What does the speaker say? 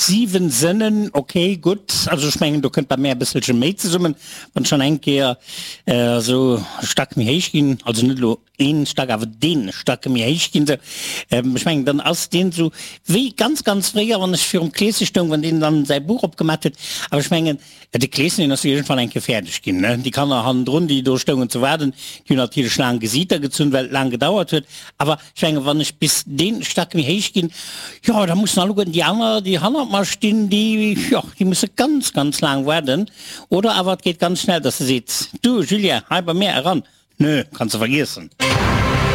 7 Sënnen, ok, gutt. Also ech mengen, do kënnt bei mär e bësselche méi zesummen, wann ech schonn eng Kéier esou e Stack méi héich ginn, also net elo een Stack, awer dee Stack méi héich ginn esou. Ech mengen, dann ass deen esou wéi ganz, ganz fréier, wann ech virum Kleesche stoung, wann deen dann säi Buch opgemat huet. Awer ech mengen, De Kleeschen, deen ass jo iergendwann eng Kéier fäerdeg ginn, ne? Déi Kanner hannendrun, déi do stoungen ze waarden, déi hunn natierlech laang Gesiiter gezunn, well et laang gedauert huet. Awer ech mengen, wann ech bis dee Stack méi héich ginn, jo, da mussen alleguerten déi aner, déi hannert mer stinn, déi, jo, déi musse ganz, ganz laang waarden. Oder awer et geet ganz schnell, dass e seet, Du Julien, hei bei mär eran. Nö, kanns de vergiessen.